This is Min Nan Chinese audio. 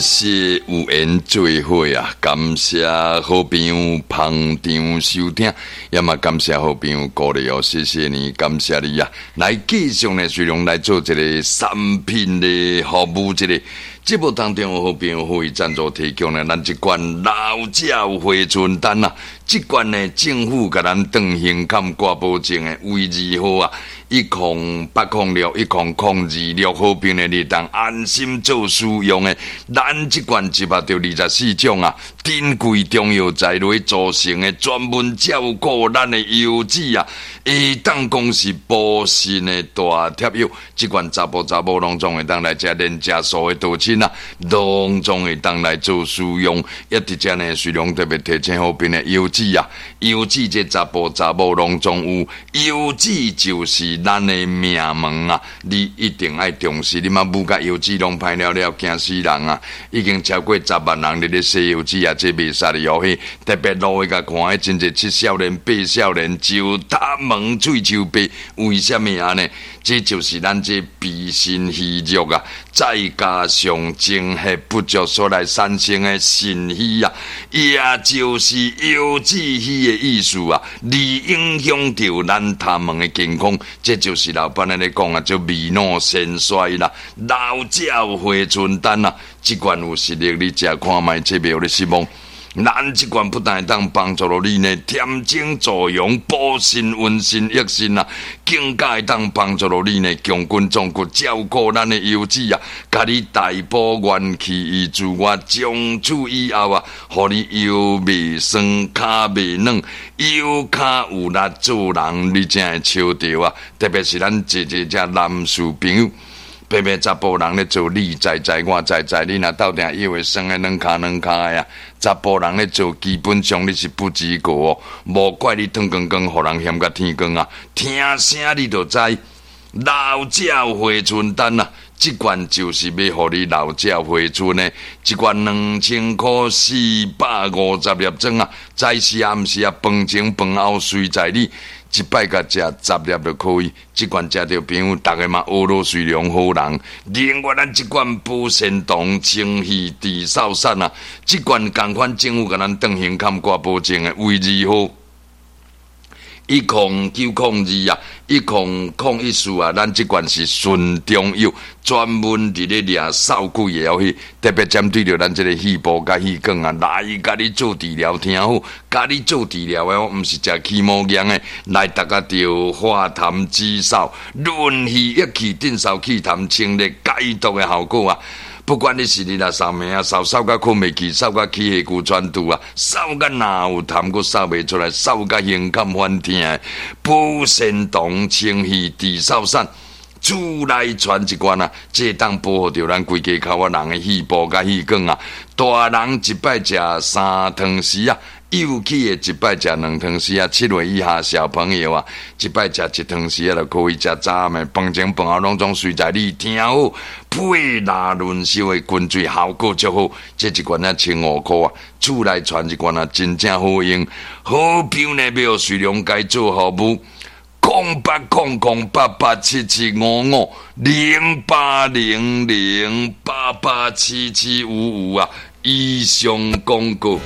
謝有緣做伙啊！感謝好朋友捧場收聽，也嘛感謝好朋友鼓勵哦，謝謝你，感謝你啊！來繼續呢，隨量來做一個產品的服務，這個節目當中有好朋友會贊助提供呢，咱這罐老鳥回春丹啊，這罐呢政府共咱斷胸坎掛保證的衛字號啊，108061026，好朋友你當安心做使用的。咱這罐集合著24種啊，珍貴中藥材來組成的，專門照顧咱的腰子啊，會當講是補腎的大帖藥。這罐查埔查某攏總會當來食，連食素的道親啊，攏總會當來做使用。一佇遮呢，雖然特別提醒好朋友腰子啊，腰子這查埔查某攏總有，腰子就是咱的命門啊！你一定愛重視，你嘛舞甲腰子攏歹了了，驚死人啊！已經超過10萬人佇咧洗腰子啊，這袂使哩哦嘿！特別路去共看，彼真濟七少年、八少年，石頭門喙鬚白，為啥物按呢？這就是咱這脾腎虛弱啊，再加上精血不足所來產生的腎虛啊，也就是腰子虛的意思啊，而影響著咱頭毛的健康。這就是老闆咧講啊，做未老先衰啦，老鳥回春丹啊，這罐有實力，你食看覓，這袂予你失望。咱這罐不但會當幫助到你呢，添精助陽、補腎、溫腎、益腎啊，更加會當幫助到你呢，強筋壯骨，照顧咱的腰子啊，共你大補元氣於自我，從此以後啊，予你腰袂酸、跤袂軟、腰跤有力做人，你才會笑著啊！特別是咱濟濟遮男士朋友。白白查埔人咧做，你知知我知知，你若鬥定腰會酸的軟跤軟跤的啊！查埔人咧做，基本上你是不及格哦，無怪你脫光光，予人嫌甲天光啊！聽聲你就知，老鳥回春丹啊！這罐就是欲予你老鳥回春的，一罐2000箍450粒裝啊！早時暗時啊，飯前飯後隨在你。一擺共食10粒就可以，這罐食著朋友，逐个嘛學落隨良好人。另外，咱這罐補腎糖清氣治嗽散啊，這罐仝款政府共咱斷胸坎掛保證的衛字號。10902啊，1014啊，咱這罐是純中藥，專門佇咧掠嗽鬼的藥去，特別針對著咱這个肺部佮氣管啊，來共你做治療，聽好，共你做治療的，毋是食起毛藥的，來逐家著化痰止嗽、潤肺益氣、鎮嗽去痰、清熱解毒的效果啊！不管你是日若嗽暝啊，嗽嗽甲睏袂去，嗽甲起下骨喘吐啊，嗽甲若有痰閣嗽袂出來，嗽甲胸坎反疼，補腎糖清氣治嗽散，厝內傳一罐啊，這當保護著咱規家口仔人的肺部佮氣管啊。大人一擺食3湯匙啊，幼齒的一擺食2湯匙啊，7歲以下小朋友啊，一擺食1湯匙啊就可以。食早暗的飯前飯後攏總隨在你。聽好，配拉潤燒的滾水效果足好。這一罐啊15箍啊，厝內傳一罐啊，真正好用。好朋友呢，欲予隨良該做服務，08008877550800887755啊，以上廣告。